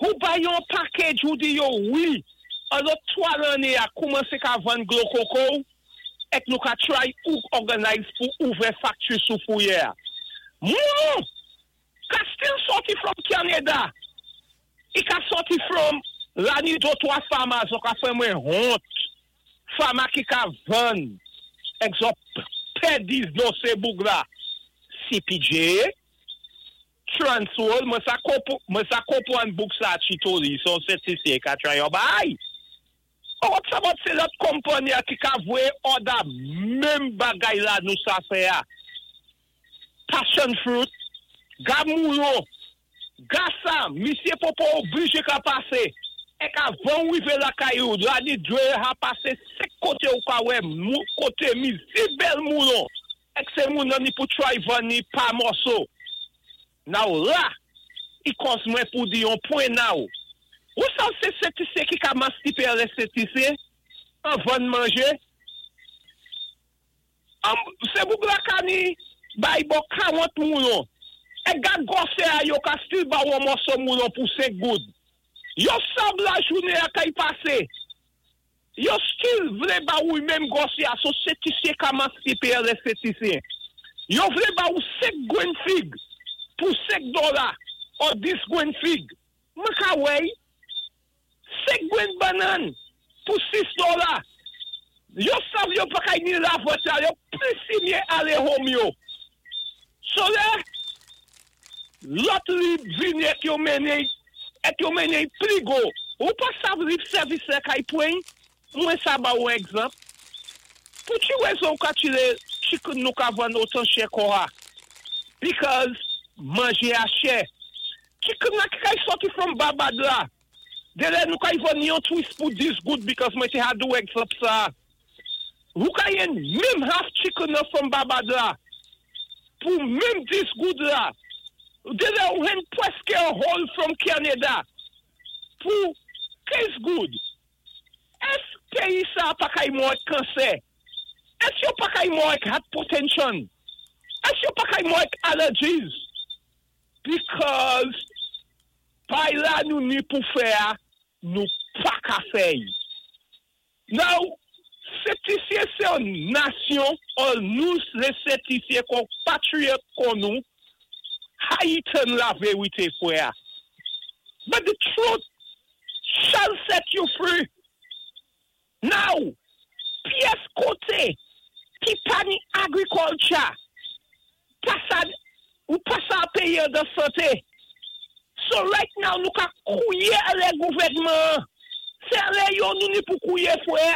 Ou bay yon package, ou di yo wi, an lòt 3 lanné a koumansé ka vann dlo koko, èk nou ka try ou organize pou ouvè factory sou Fourrière. Moun, ka still sòti from Canada. I ka sòti from la ni do 3 farmers, yo ka fè mwen wont. Farmer ki ka vann, egzanp, pèdi no sé boug la. CPJ, Transworld, mwen sa konpwann boug sa chito li, son Sent Lisi ka try yo bay. Ou sa bot sé lòt konpanyi a ki ka voyé order menm bagay la nou sa fè a. Passion fruit, ga moulo, ga sa, misyé Popo oblijé ka pasé. Èk avan ou rivé lakay ou, la ni dwé ha pasé sé koté ou ka wè, koté mi si bèl moulo. Èk sé moun nan ni pou try vann ni pa mòso. Now la, i kòz mwen pou di yon pwen now. Ou sa sé Sent Lisi ki ka mastipé lè Sent Lisi, an vann manjé? Sé boug la ka ni bay bo 40 moulon. E gad gwosè a, yo ka still ba ou mòso moulon pou 5 goud. Yo sab la jounen a kay pasé. Yo still vlé ba ou menm gwosè a, so Sent Lisi ka mastipe lè Sent Lisi. Yo vlé ba ou 5 gwenn fig pou 5 dola ou 10 gwenn fig. Mwen ka wèy, 5 gwenn bannann pou 6 dola. Yo sav yo pa kay ni la vòt yo plis simye ale home yo. So lè, lòt li vini èk yo mennen, èk yo mennen pli go. Ou pa sav lip service lè kay pwen, mwen sa ba ou egzanp. Pou ti rezon ka tire chicken nou ka vann otan chè kon a. Because manjé a chè. Chicken la ki kay sòti from Babad la. De lè nou kay vann yon twist pou 10 goud because mwen te ha do egzanp sa. Ou ka yen menm half chicken nan from Babad la. Pou menm 10 goud la. De lè ou hen pwèske a whole from Canada. Pou 15 goud. Ès peyi sa pa kay mò ak kansè? Ès yo pa kay mò ak hypertension? Ès yo pa kay mò ak allergies? Because pay la nou ni pou fè a, nou pa ka fè y. Now, Sent Lisi sé yon nasyon, ou nou lé Sent Lisi kon patriyòt kon nou, haïten la vérité frè. But the truth shall set you free. Now, pyès koté ki pa ni agriculture, pa sa, ou pa sa péyé de santé. So right now, nou ka kouyé lé gouvèdman. Sé lé yo nou ni pou kouyé frè,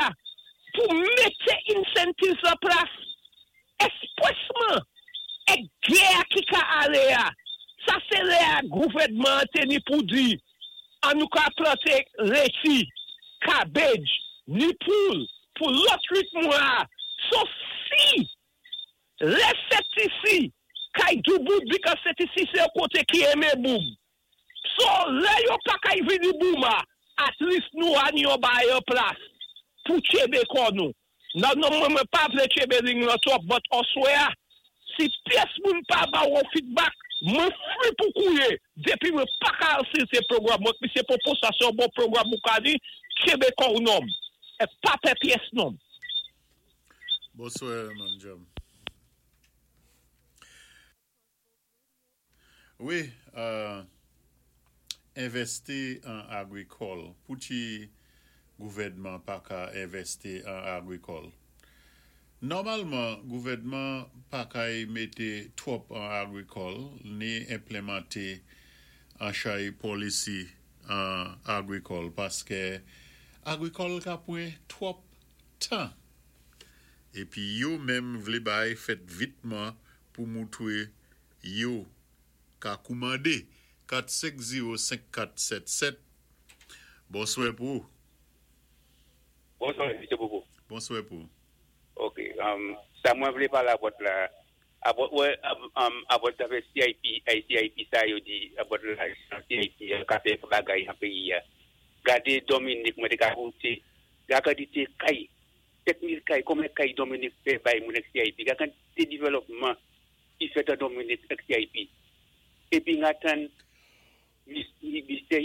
pou mété incentives an plas. Espresman, é gè ki ka alé a. Sa sé lè a gouvèdman té ni pou di, an nou ka planté leti, cabbage, ni poul, pou lòt 8 mwa. So si, lè Sent Lisi, kay dou bout, because Sent Lisi sé yon koté ki enmen boum. So, lè yo pa kay vini bouma, at least nou an yon bay an plas pou tchébé kò nou. Nan non mwen mwen pa vlé tchébé ling lan twòp, but oswè a, si pyès moun pa ba ou feedback, mwen free pou kouyé, depi mwen pa ka asiste pwogram, mwen pi se popo sa se yon bon pwogram ou ka di, tchébé kò ou nonm. É pa pè pyès nonm. Bonswè, Manjam. Wi, envèsti an agrikòl. Pou ti gouvèdman pa ka envèsti an agrikòl? Nòmalman, gouvèdman pa kay mété twòp an agrikòl ni enplémanté an chay policy an agrikòl paskè agrikòl ka pwan twòp tan. Épi yo menm vlé bay fèt vitman pou moutwé yo ka koumandé. 4505477. Bonswè pou ou. Bonswè, M. Popo. Bonswè pou ou. Ok, sa mwen vlé palé about la, about, wè, about zafè CIP, ICIP sa yo di, about lajan CIP, ka fè bagay an péyi a. Gadé Dominique, mwen té ka voté, gad kantité kay, 7000 kay, konbyen kay Dominique fè bay moun ak CIP, gad kantité devlòpman ki fèt an Dominique ak CIP. Épi n atan, Mr.